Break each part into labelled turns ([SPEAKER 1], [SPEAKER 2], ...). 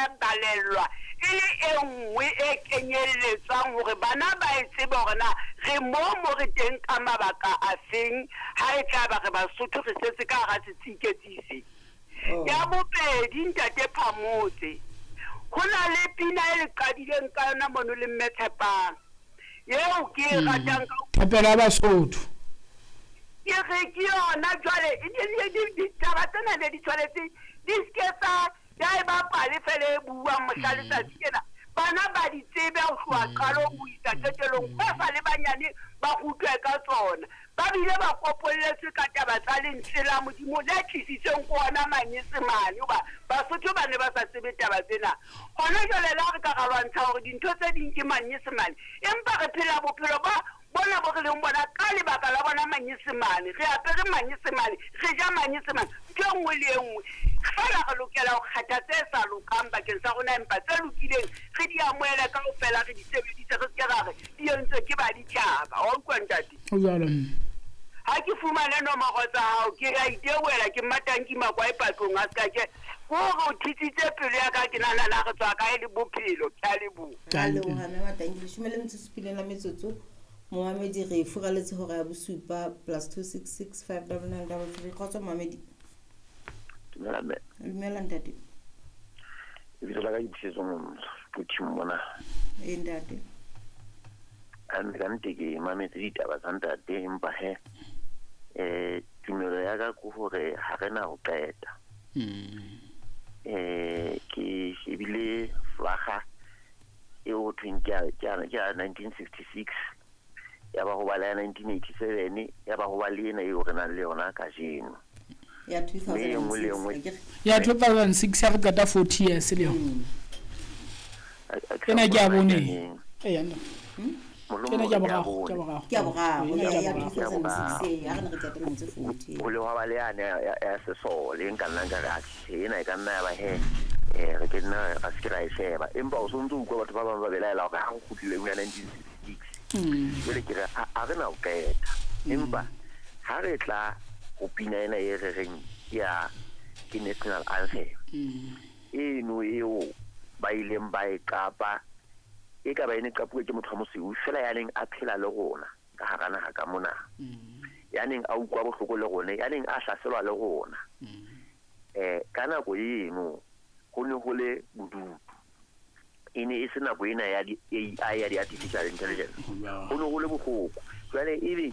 [SPEAKER 1] ya balellwa e le e nngwe e kenyelletswang hore bana ba e tsebe hore na re mo mo re teng ka mabaka a feng, ha e tla ba re Basotho re setse ka hara setsiketsi se.
[SPEAKER 2] Oh.
[SPEAKER 1] Ya bobedi, Ntate Phamotse, ho na le pina e le qadileng ka yona mono le Mme Tshepang, eo ke e ratang ka ho
[SPEAKER 3] Thapelo ya Basotho.
[SPEAKER 1] Ke re ke yona jwale, ditaba tsena ne di tshwanetse di se ke tsa ya eba pale fela e buang mohla letsatsi lena. Bana ba di tsebe ho tloha qalong ho isa qetellong, ba sa le banyane ba rutwe ka tsona. Ba bile ba kopolletswe ka taba tsa lentswe la Modimo le tlisitsweng ke ona Manyesemane, hoba Basotho ba ne ba sa tsebe taba tsena. Hona jwale le ha re ka ra lwantsha hore dintho tse ding ke Manyesemane, empa re phela bophelo ba bona bo re leng bona ka lebaka la bona Manyesemane. Re apere Manyesemane, re ja Manyesemane, ntho e nngwe le e nngwe. Feela re lokela ho kgetha tse sa lokang bakeng sa rona, empa tse lokileng re di amohele kaofela, re di sebedise, re se ke ra re di entswe ke baditjhaba. Wa utlwa, ntate?
[SPEAKER 3] Ho jwalo, mme.
[SPEAKER 1] Ha ke fumane nomoro tsa hao, ke a itebohela, ke Mmatanki Makwae Patlong a ska ke. Ke hore o thitsitse pelo ya ka, ke nahana na re tswa kae le bophelo. Ke a leboha.
[SPEAKER 2] Re a leboha, Mme Matanki. 17:07, momamedi re furaletse hora ya bosupa, +266 599 33. Kgotso, momamedi.
[SPEAKER 4] Dumela, mme.
[SPEAKER 2] Dumela, ntate.
[SPEAKER 4] Lebitso la ka ke Pusetso Qothing mona.
[SPEAKER 2] Ee, ntate.
[SPEAKER 4] Mme ka nnete ke mametse ditaba tsa ntate, empa he tumelo ya ka ke hore ha re na ho qeta. Ke shebile flaga eo ho thweng ke ya 1966, ya ba ho ba le ya 1987, ya ba ho ba le ena eo re nang le yona kajeno.
[SPEAKER 2] Ya
[SPEAKER 4] Mme e nngwe le e
[SPEAKER 2] 2006,
[SPEAKER 4] nngwe
[SPEAKER 2] akere?
[SPEAKER 3] Ya 2006 ya re qeta 40 years le yona.
[SPEAKER 4] A ke sa
[SPEAKER 3] Ena ke ya
[SPEAKER 4] hopola
[SPEAKER 3] bone.
[SPEAKER 4] neng.
[SPEAKER 3] Ee, nna.
[SPEAKER 4] Mohlomong
[SPEAKER 3] Ena ke ya
[SPEAKER 4] ke ya
[SPEAKER 3] boraro, ke ya
[SPEAKER 4] bone.
[SPEAKER 3] boraro.
[SPEAKER 2] Ke ya boraro,
[SPEAKER 3] Ena ke
[SPEAKER 2] ya
[SPEAKER 3] ya
[SPEAKER 2] ya
[SPEAKER 3] boraro.
[SPEAKER 4] Ke ya
[SPEAKER 2] 2006,
[SPEAKER 4] boraro.
[SPEAKER 2] ee, ha re ne re qeta dilemo tse 40.
[SPEAKER 4] Ho le hwa ba le yane ya sesole, nka nna nka re, atjhe, ena e ka nna ya ba he, re ke nna ra se ke ra e sheba. Empa o sontso o utlwa batho ba bang ba belaela hore ha re kgutlile ho ya 1966. Jwale ke re, ha re na ho qeta. Empa ha re tla ho pina ena e re reng ke ya, ke national anthem. Eno eo ba ileng ba e qapa, e ka ba e ne qapuwe ke motho wa mosweu fela ya neng a phela le rona ka hara naha ka mona. Ya neng a utlwa bohloko le rona, ya neng a hlaselwa le rona. Ka nako eno ho ne ho le bodutu. E ne e se nako ena ya di AI, ya di artificial intelligence. Ho ne ho le bohloko. Jwale ebe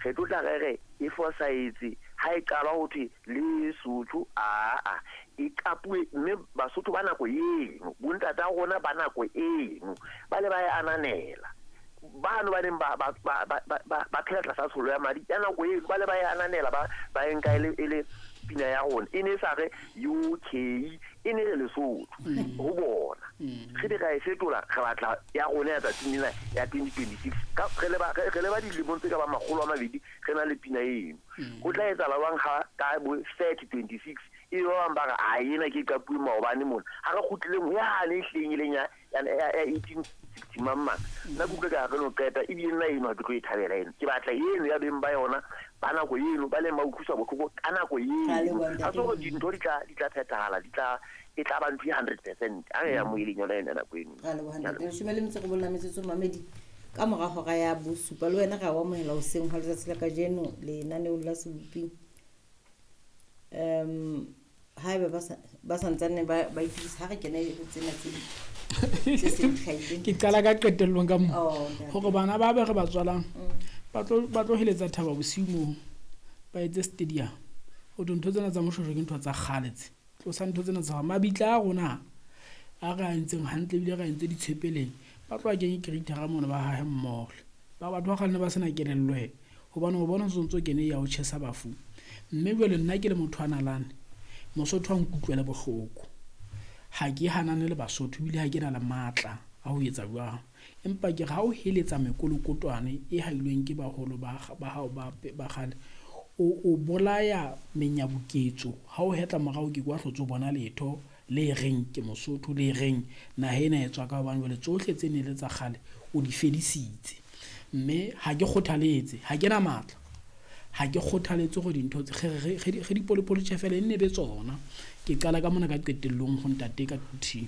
[SPEAKER 4] re tlo tla re re e fosahetse ha e qala ho thwe Lesotho, aa, e qapuwe, mme Basotho ba nako eno, bontata rona ba nako eno, ba le ba e ananela. Bano ba neng ba phela tlasa tsholo ya madi ya nako eno, ba le ba e ananela, ba e nka e le pina ya rona. E ne e sa re UK, e ne re Lesotho ho bona. Re be ra e fetola, re batla ya rona ya tsatsing lena ya 2026. Ka, re leba, re, re leba dilemong tse ka bang 200, re na le pina eno. Ho tla etsahala jwang ha ka bo 3026, e ba bang ba re, a ena ke qapuwe maobane mona. Ha re kgutleleng ho yane e hlileng e leng ya 1860 mang mang. Nna ke utlwe ka re no qeta, ebile nna eno ha ke tlo e thabela eno. Ke batla eno ya beng ba yona, ba nako eno, ba leng ba utlwiswa bohloko ka nako eno.
[SPEAKER 2] Ra leboha,
[SPEAKER 4] Ha
[SPEAKER 2] ntate.
[SPEAKER 4] se hore dintho di tla phethahala, e tla ba ntho e 100%. Ha re ya moeleng yona ena nako eno.
[SPEAKER 2] Ra leboha, ntate. 19 mamedi. Ka mora hora ya bosupa le wena re a o amohela hoseng hwa letsatsi la kajeno lenaneong la Sebopi. Haeba ba sa ntsane ba itokisa, ha re kene ho tsena tse ding, tse seng di hlahile.
[SPEAKER 3] Ke qala ka qetellong ka moo.
[SPEAKER 2] Oh, ntate.
[SPEAKER 3] Hore bana ba be re ba tswalang, ba tlo heletsa thaba bosiu moo, ba etse stadium. Ho thwe ntho tsena tsa Moshoeshoe ke ntho tsa kgale tse. Tlosa ntho tsena tsa mabitla a rona a re a entseng hantle, ebile re a entse ditshepeleng. Ba tloha kenye creator-a mono ba hahe mmoho. Ba batho ba kgale ne ba sena kelello he. Hobane o bona o ntso kene ya ho tjhesa bafu. Mme jwale nna ke le motho wa nalane, Mosotho a nkutlwele bohloko. Ha ke hanane le Basotho, ebile ha ke na le matla a ho etsa jwang. Empa ke re ha o heletsa mekolokotwane e hailweng ke baholo ba hao ba kgale, o bolaya menyabuketso. Ha o hetla morao ke kwa hlotse o bona letho le reng ke Mosotho, le reng naha ena e tswa ka hobane jwale tsohle tse ne le tsa kgale o di fedisitse. Mme ha ke kgothaletse, ha ke na matla, ha ke kgothaletse hore dintho tse, re di polopolotjhe fela e nne be tsona. Ke qala ka mona ka qetellong ho ntate ka Quthing.